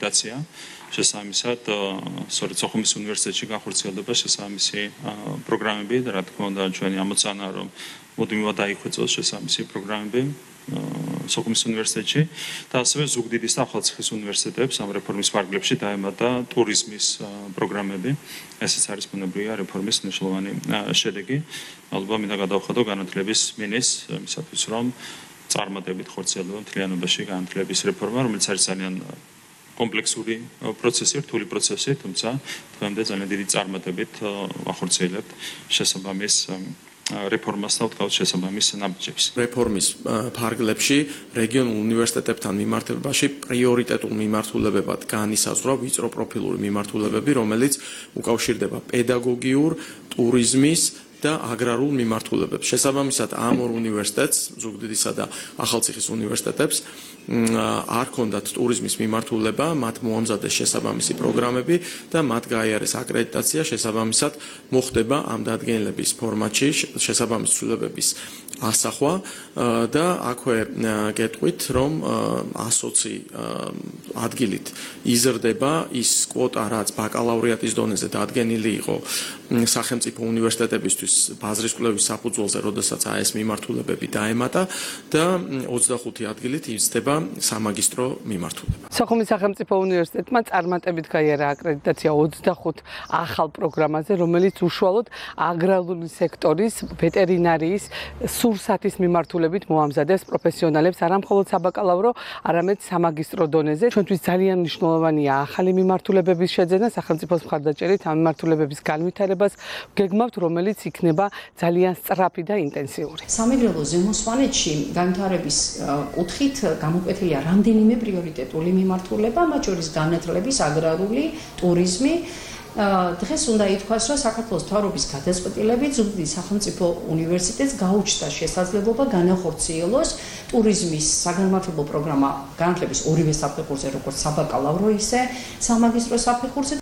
აკრედიტაცია. შესაბამისად, სწორედ სოხუმის უნივერსიტეტში განხორციელდება შესაბამისი პროგრამები და რა თქმა უნდა ჩვენი ამოცანა რომ მუდმივად დაიხვეწოს შესაბამისი პროგრამები სოხუმის უნივერსიტეტში და ასევე ზუგდიდის და ახალციხის უნივერსიტეტებს ამ რეფორმის ფარგლებში დაემატა ტურიზმის პროგრამები. ესეც არის ბუნებრივია რეფორმის მნიშვნელოვანი შედეგი. ალბათ მინდა გადავხადო განათლების მინისტრს იმისათვის რომ წარმატებით ხორციელდება მთლიანობაში განათლების რეფორმა, რომელიც არის ძალიან კომპლექსური პროცესი, რთული პროცესი, თუმცა დღემდე ძალიან დიდი წარმატებით ვახორციელებთ შესაბამის რეფორმას და ვთქვათ შესაბამის ნაბიჯებს. რეფორმის ფარგლებში რეგიონულ უნივერსიტეტებთან მიმართებაში პრიორიტეტულ მიმართულებებად განისაზღვრა ვიწრო პროფილური მიმართულებები, რომელიც უკავშირდება პედაგოგიურ, ტურიზმის და აგრარულ მიმართულებებს. შესაბამისად ამ ორ უნივერსიტეტს, ზუგდიდისა და ახალციხის უნივერსიტეტებს არ ჰქონდათ ტურიზმის მიმართულება, მათ მოამზადეს შესაბამისი პროგრამები და მათ გაიარეს აკრედიტაცია, შესაბამისად მოხდება ამ დადგენილების ფორმატში შესაბამის ცვლილებების ასახვა და აქვე გეტყვით, რომ 120 ადგილით იზრდება ის კვოტა, რაც ბაკალავრიატის დონეზე დადგენილი იყო სახელმწიფო უნივერსიტეტებისთვის ბაზრის კვლევის საფუძველზე, როდესაც ეს მიმართულებები დაემატა და 25 ადგილით იზრდება სამაგისტრო მიმართულება. სოხუმის სახელმწიფო უნივერსიტეტმა წარმატებით გაიარა აკრედიტაცია 25 ახალ პროგრამაზე, რომელიც უშუალოდ აგრარული სექტორის, ვეტერინარიის, სურსათის მიმართულებით მოამზადებს პროფესიონალებს არა მხოლოდ საბაკალავრო, არამედ სამაგისტრო დონეზე. ჩვენთვის ძალიან მნიშვნელოვანია ახალი მიმართულებების შეძენა, სახელმწიფოს მხარდაჭერით ამ მიმართულებების განვითარებას გეგმავთ, რომელიც იქნება ძალიან სწრაფი და ინტენსიური. სამეგრელო ზემოსვანეთში განვითარების კუთხით გამოკვეთილია რამდენიმე პრიორიტეტული მიმართულება, მათ შორის განათლების, აგრარული, ტურიზმი. დღეს უნდა ითქვას, რომ საქართველოს მთავრობის გადაწყვეტილებით ზუგდიდის სახელმწიფო უნივერსიტეტს გაუჩნდა შესაძლებლობა განახორციელოს ტურიზმის საგანმანათლებლო პროგრამა განათლების ორივე საფეხურზე, როგორც საბაკალავრო, ისე სამაგისტრო საფეხურზე.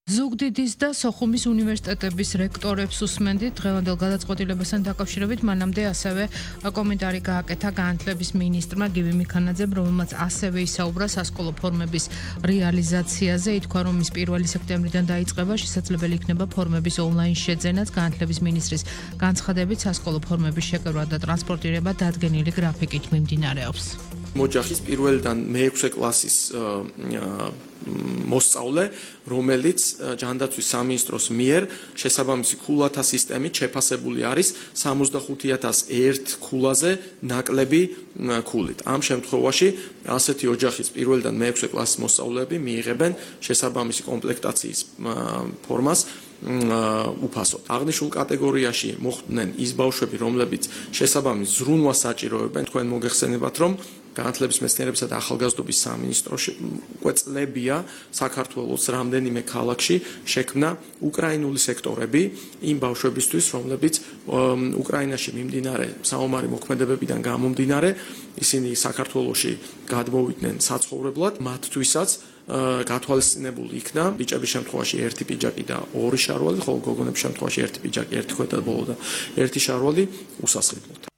ზუგდიდის და სოხუმის უნივერსიტეტების რექტორებს უსმენდით დღევანდელ გადაწყვეტილებასთან დაკავშირებით, მანამდე ასევე კომენტარი გააკეთა განათლების მინისტრმა გივი მიქანაძემ, რომელმაც ასევე ისაუბრა სასკოლო ფორმების რეალიზაციაზე. ითქვა, რომ ის 1 სექტემბრიდან დაიწყება, შესაძლებელი იქნება ფორმების ონლაინ შეძენაც. განათლების მინისტრის განცხადებით, სასკოლო ფორმების შეკრება და ტრანსპორტირება დადგენილი გრაფიკით მიმდინარეობს. მოჯახის 1-დან მე-6 კლასის მოსწავლე, რომელიც ჯანდაცვის სამინისტროს მიერ შესაბამისი ქულათა სისტემით შეფასებული არის 65,001 ქულაზე ნაკლები ქულით. ამ შემთხვევაში ასეთი ოჯახის 1-დან მე-6 კლასის მოსწავლეები მიიღებენ შესაბამისი კომპლექტაციის ფორმას უფასოდ. აღნიშნულ კატეგორიაში მოხვდნენ ის ბავშვები, რომლებიც შესაბამის ზრუნვას საჭიროებენ. თქვენ მოგეხსენებათ, რომ განათლების მეცნიერებისა და ახალგაზრდობის სამინისტროში უკვე წლებია საქართველოს რამდენიმე ქალაქში შექმნა უკრაინული სექტორები იმ ბავშვებისთვის, რომლებიც უკრაინაში მიმდინარე საომარი მოქმედებებიდან გამომდინარე, ისინი საქართველოში გადმოვიდნენ საცხოვრებლად, მათთვისაც გათვალისწინებული იქნა ბიჭების შემთხვევაში 1 პიჯაკი და 2 შარვალი, ხოლო გოგონების შემთხვევაში 1 პიჯაკი, 1 ქვედა ბოლო და 1 შარვალი უსასყიდლოდ.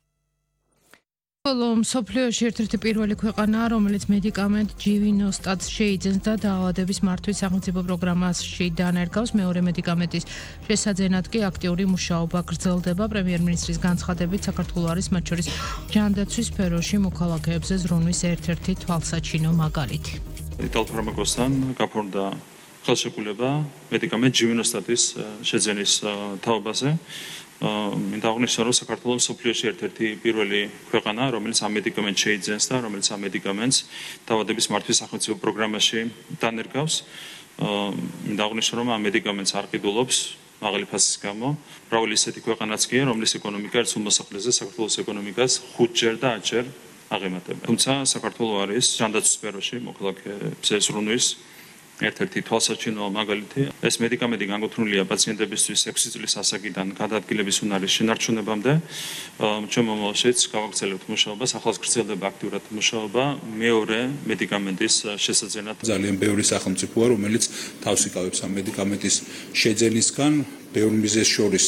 ხოლო მსოფლიოში ერთ-ერთი პირველი ქვეყანაა, რომელიც მედიკამენტ ჯივინოსტატს შეიძენს და დაავადების მართვის სახელმწიფო პროგრამაში დანერგავს. მეორე მედიკამენტის შესაძენად კი აქტიური მუშაობა გრძელდება. პრემიერ-მინისტრის განცხადებით, საქართველო არის მათ შორის ჯანდაცვის სფეროში მოქალაქეებზე ზრუნვის ერთ-ერთი თვალსაჩინო მაგალითი. იტალ ფარმაკოსთან გაფორმდა ხელშეკრულება მედიკამენტ ჯივინოსტატის შეძენის თაობაზე. მინდა აღნიშნო, რომ საქართველო მსოფლიოში ერთ-ერთი პირველი ქვეყანაა, რომელიც ამ მედიკამენტს შეიძენს და რომელიც ამ მედიკამენტს დაავადების მართვის სახელმწიფო პროგრამაში დანერგავს. მინდა აღნიშნო, რომ ამ მედიკამენტს არ ყიდულობს მაღალი ფასის გამო მრავალი ისეთი ქვეყანაც კი, რომლის ეკონომიკა ერთ მოსახლეზე საქართველოს ეკონომიკას 5-ჯერ და 10-ჯერ აღემატება. თუმცა საქართველო არის ჯანდაცვის სფეროში მოქალაქეებზე ზრუნვის ერთ-ერთი თვალსაჩინო მაგალითი. ეს მედიკამენტი განკუთვნილია პაციენტებისთვის 6 წლის ასაკიდან გადაადგილების უნარის შენარჩუნებამდე. ჩვენ მომავალშიც გავაგრძელებთ მუშაობას, ახლაც გრძელდება აქტიურად მუშაობა მეორე მედიკამენტის შესაძენად. ძალიან ბევრი სახელმწიფოა, რომელიც თავს იკავებს ამ მედიკამენტის შეძენისგან, ბევრ მიზეზს შორის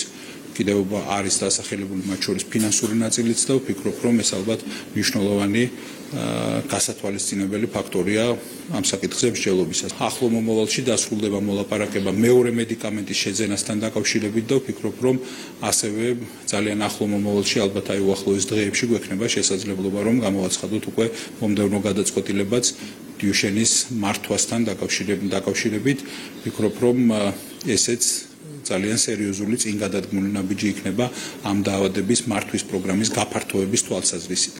კიდევ არის დასახელებული მათ შორის ფინანსური ნაწილიც და ვფიქრობ, რომ ეს ალბათ მნიშვნელოვანი გასათვალისწინებელი ფაქტორია ამ საკითხზე მსჯელობისას. ახლო მომავალში დასრულდება მოლაპარაკება მეორე მედიკამენტის შეძენასთან დაკავშირებით და ვფიქრობ, რომ ასევე ძალიან ახლო მომავალში ალბათ აი უახლოეს დღეებში გვექნება შესაძლებლობა, რომ გამოვაცხადოთ უკვე მომდევნო გადაწყვეტილებაც დიუშენის მართვასთან დაკავშირებით. ვფიქრობ, რომ ესეც ძალიან სერიოზული წინ გადადგმული ნაბიჯი იქნება ამ დაავადების მართვის პროგრამის გაფართოების თვალსაზრისით.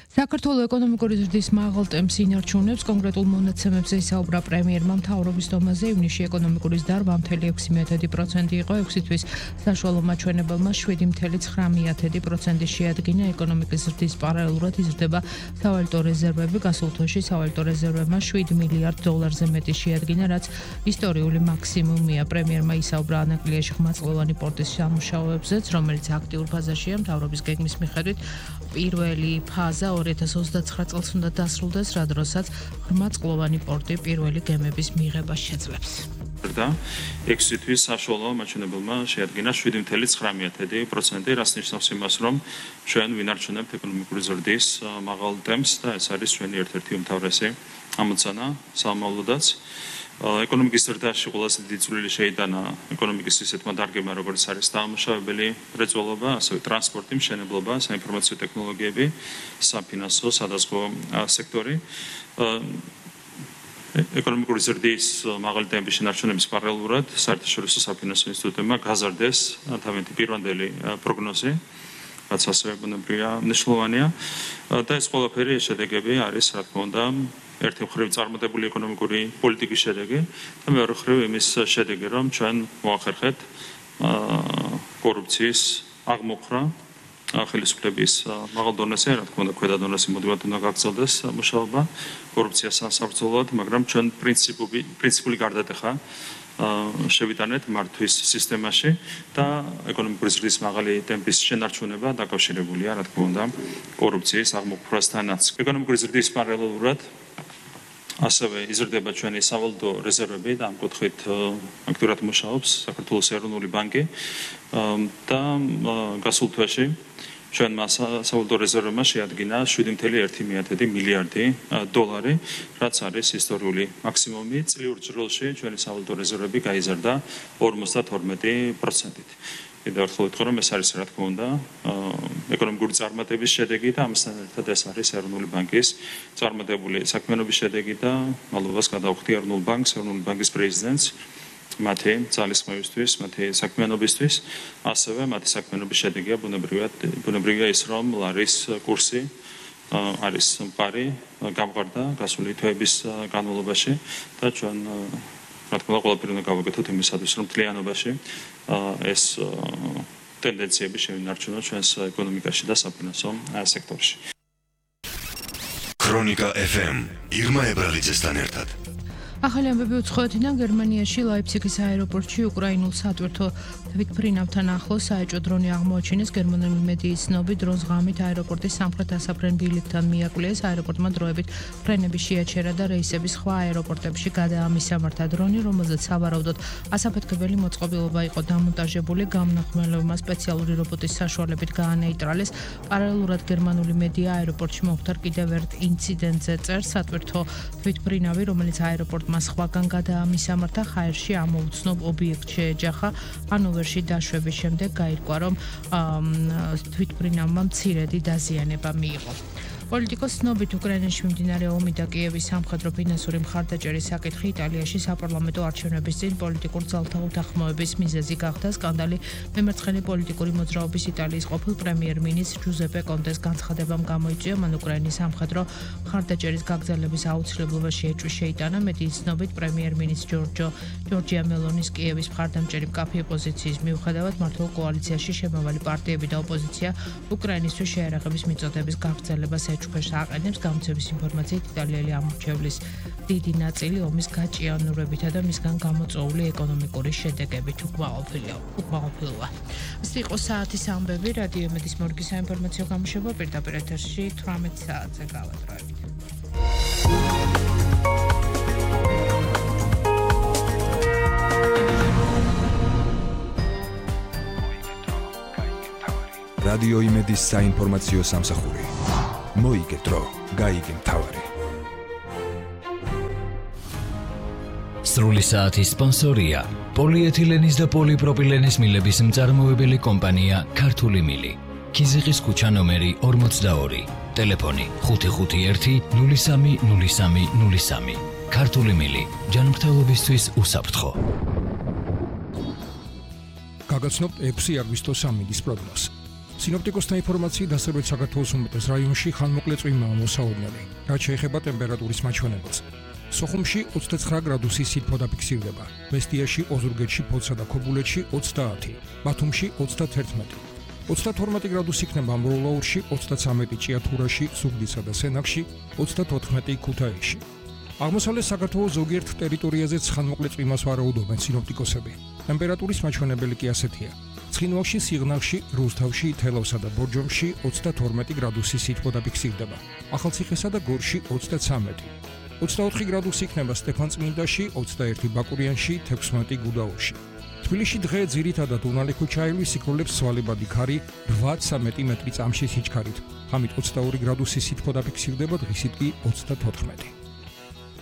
საქართველოს ეკონომიკური ზრდის მაღალ ტემპს ინარჩუნებს კონკრეტულ მონაცემებზე ისაუბრა პრემიერმა მთავრობის დომაზე ივნისში ეკონომიკური ზრდა 8.6% იყო 6 თვის საშუალო მაჩვენებელმა 7.9% შეადგინა ეკონომიკის ზრდის პარალელურად იზრდება სავალუტო რეზერვები გასულ თვეში სავალუტო რეზერვებმა $7 მილიარდ მეტი შეადგინა რაც ისტორიული მაქსიმუმია პრემიერმა ისაუბრა ანაკლიაში ხმაწყლოვანი პორტის სამუშაოებზეც რომელიც აქტიურ ფაზაშია მთავრობის გეგმის მიხედვით პირველი ფაზა 2029 წელს უნდა დასრულდეს, რა დროსაც ხმაწყლოვანი პორტი პირველი გემების მიღებას შეძლებს. და 6 თვის საშუალო მაჩვენებელმა შეადგინა 7.9%, რაც ნიშნავს იმას, რომ ჩვენ ვინარჩუნებთ ეკონომიკური ზრდის მაღალ ტემპს და ეს არის ჩვენი ერთ-ერთი უმთავრესი ამოცანა სამომავლოდაც. ეკონომიკის ზრდაში ყველაზე დიდი წვლილი შეიტანა ეკონომიკის ისეთმა დარგებმა, როგორც არის დამუშავებელი მრეწველობა, ასევე ტრანსპორტი, მშენებლობა, საინფორმაციო ტექნოლოგიები, საფინანსო, სადაზღვო სექტორი. ეკონომიკური ზრდის მაღალი ტემპის შენარჩუნების პარალელურად საერთაშორისო საფინანსო ინსტიტუტებმა გაზარდეს თავიანთი პირვანდელი პროგნოზი, რაც ასევე ბუნებრივია მნიშვნელოვანია და ეს ყველაფერი შედეგები არის, რა თქმა უნდა, ერთი მხრივ წარმატებული ეკონომიკური პოლიტიკის შედეგი და მეორე მხრივ იმის შედეგი, რომ ჩვენ მოახერხეთ კორუფციის აღმოფხვრა ხელისუფლების მაღალ დონეზე, რა თქმა უნდა, ქვედა დონეზე მუდმივად უნდა გაგრძელდეს მუშაობა კორუფციას სამსაბრძოლოდ, მაგრამ ჩვენ პრინციპული გარდატეხა შევიტანეთ მართვის სისტემაში და ეკონომიკური ზრდის მაღალი ტემპის შენარჩუნება დაკავშირებულია, რა თქმა უნდა, კორუფციის აღმოფხვრასთანაც. ეკონომიკური ზრდის პარალელურად ასევე იზრდება ჩვენი სავალუტო რეზერვები და ამ კუთხით აქტიურად მუშაობს საქართველოს ეროვნული ბანკი და გასულ თვეში ჩვენმა სავალუტო რეზერვებმა შეადგინა $7.1 მილიარდი, რაც არის ისტორიული მაქსიმუმი. წლიურ ჯროლში ჩვენი სავალუტო რეზერვები გაიზარდა 52%-ით. კიდევ ერთხელ ვიტყვი, რომ ეს არის, რა თქმა უნდა, ეკონომიკური წარმატების შედეგი და ამასთან ერთად ეს არის ეროვნული ბანკის წარმატებული საქმიანობის შედეგი და მადლობას გადავხდი ეროვნულ ბანკს, ეროვნული ბანკის პრეზიდენტს მათი ძალისხმევისთვის, მათი საქმიანობისთვის, ასევე მათი საქმიანობის შედეგია ბუნებრივია ის, რომ ლარის კურსი არის მყარი, გამყარდა გასული თვეების განმავლობაში და ჩვენ რა თქმა უნდა ყველაფერი უნდა გავაკეთოთ იმისათვის, რომ მთლიანობაში ეს ტენდენციები შევინარჩუნოთ ჩვენს ეკონომიკაში და საფინანსო სექტორში. ქრონიკა FM ირმა ებრალიძესთან ერთად. ახალი ამბები უცხოეთიდან გერმანიაში ლაიფციგის აეროპორტში უკრაინულ სატვირთო თვითმფრინავთან ახლოს საეჭვო დრონი აღმოაჩინეს. გერმანული მედიის ცნობით დრონს ღამით აეროპორტის სამხრეთ ასაფრენ ბილიკთან მიაკვლეს. აეროპორტმა დროებით ფრენები შეაჩერა და რეისები სხვა აეროპორტებში გადაამისამართა. დრონი, რომელზეც სავარაუდოდ ასაფეთქებელი მოწყობილობა იყო დამონტაჟებული, გამნახველებმა სპეციალური რობოტის საშუალებით გაანეიტრალეს. პარალელურად გერმანული მედია აეროპორტში მომხდარ კიდევ ერთ ინციდენტზე წერს. სატვირთო თვითმფრინავი, რომელიც აეროპორტ მას სხვაგან გადაამისამართა, ჰაერში ამოუცნობ ობიექტს შეეჯახა. ჰანოვერში დაშვების შემდეგ გაირკვა, რომ თვითმფრინავმა მცირედი დაზიანება მიიღო. პოლიტიკოს ცნობით უკრაინაში მიმდინარე ომი და კიევის სამხედრო ფინანსური მხარდაჭერის საკითხი იტალიაში საპარლამენტო არჩევნების წინ პოლიტიკურ ძალთა უთანხმოების მიზეზი გახდა. სკანდალი მემარცხენე პოლიტიკური მოძრაობის იტალიის ყოფილ პრემიერ-მინისტრ ჯუზეპე კონტეს განცხადებამ გამოიწვია, მან უკრაინის სამხედრო მხარდაჭერის გაგრძელების აუცილებლობა შეიტანა. მედიის ცნობით პრემიერ-მინისტრ ჯორჯია მელონის კიევის მხარდამჭერი მკაფიო პოზიციის მიუხედავად მართლ კოალიციაში შემავალი პარტიები და ოპოზიცია უკრაინისთვის შეერაღების მიწოდების გაგრძელებას ეჭვქვეშ აყენებს. გამოცემის ინფორმაციით იტალიელი ამორჩევლის დიდი ნაწილი ომის გაჭიანურებითა და მისგან გამოწვეული ეკონომიკური შედეგებით უკმაყოფილოა. ეს იყო საათის ამბები. რადიო მედიის მორგის საინფორმაციო გამოშვება პირდაპირ ეთერში 18 საათზე გავატარებით. რადიო იმედის საინფორმაციო სამსახური. მოიგე დრო, გაიგე მთავარი. სრული საათის სპონსორია პოლიეთილენის და პოლიპროპილენის მილების მწარმოებელი კომპანია ქართული მილი. ქიზიყის ქუჩა ნომერი 42. ტელეფონი 551 030303. ქართული მილი ჯანმრთელობისთვის უსაფრთხო. გაგაცნობთ 6 აგვისტოს ამინდის პროგნოზს. სინოპტიკოსთა ინფორმაციით დასავლეთ საქართველოს უმეტეს რაიონში ხანმოკლე წვიმაა მოსაოდნელი, რაც შეეხება ტემპერატურის მაჩვენებელს. სოხუმში 29 გრადუსი სითბო დაფიქსირდება, მესტიაში, ოზურგეთში, ფოცსა და ქობულეთში 30, ბათუმში 31, 32 გრადუსი იქნება ამბროლაურში, 33 ჭიათურაში, ზუგდიდსა და სენაკში, 34 ქუთაისში. აღმოსავლეთ საქართველოს ზოგიერთ ტერიტორიაზეც ხანმოკლე წვიმას ვარაუდობენ სინოპტიკოსები. ტემპერატურის მაჩვენებელი კი ასეთია: ცხინვალში, სიღნაღში, რუსთავში, თელავსა და ბორჯომში 32 გრადუსი სითბო დაფიქსირდება, ახალციხესა და გორში 33, 24 გრადუსი იქნება სტეფანწმინდაში, 21 ბაკურიანში, 16 გუდაურში. თბილისში დღე ძირითადად უნალი ქუჩაელი სიკვდილებს სვალებადი ქარი 8-13 მეტრი წამში სიჩქარით. ღამით 22 გრადუსი სითბო დაფიქსირდება, დღისით კი 34.